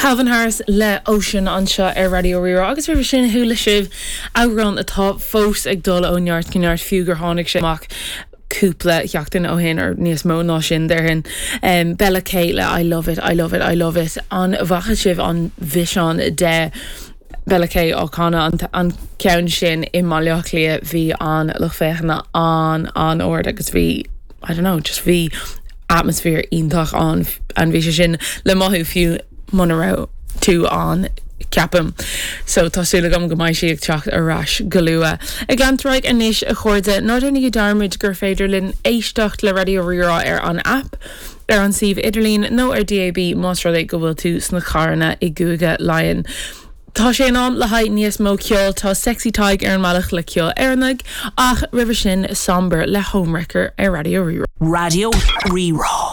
Calvin Harris le Ocean anseo ar Raidió Rí-Rá agus roimhe sin chuala sibh amhrán atá fós ag dul ó neart go neart fiú gur tháinig sé amach cúpla seachtain ó shin or níos mó ná sin déarfainn. Bella K le I Love It, I Love It, I Love It. An bhfaca sibh an bhfíseán de Bella K á canadh an ceann sin i mBaile Átha Cliath bhí an lucht féachana an-an-ard agus bhí I don't know just bhí atmaisféar iontach ann and bhí sé sin le mothú fiú muna raibh tú ann ceapaim. So tá súil agam go mbeidh sí ag teacht ar ais go luath. Ag leanúint ar aghaidh anois a chairde, ná déanaigí dearmad gur féidir linn éisteacht le Raidió Rí-Rá ar an aip, ar an suíomh idirlín nó ar DAB más rud é go bhfuil tú sna carranna i gCúige Laighean. Tá sé in am le haghaidh níos mó ceoil, tá Sexy Tadhg ar an mbealach le ceol Éireannaigh, ach roimhe sin Somber le Homewrecker ar Raidió Rí-Rá. Raidió Rí-Rá.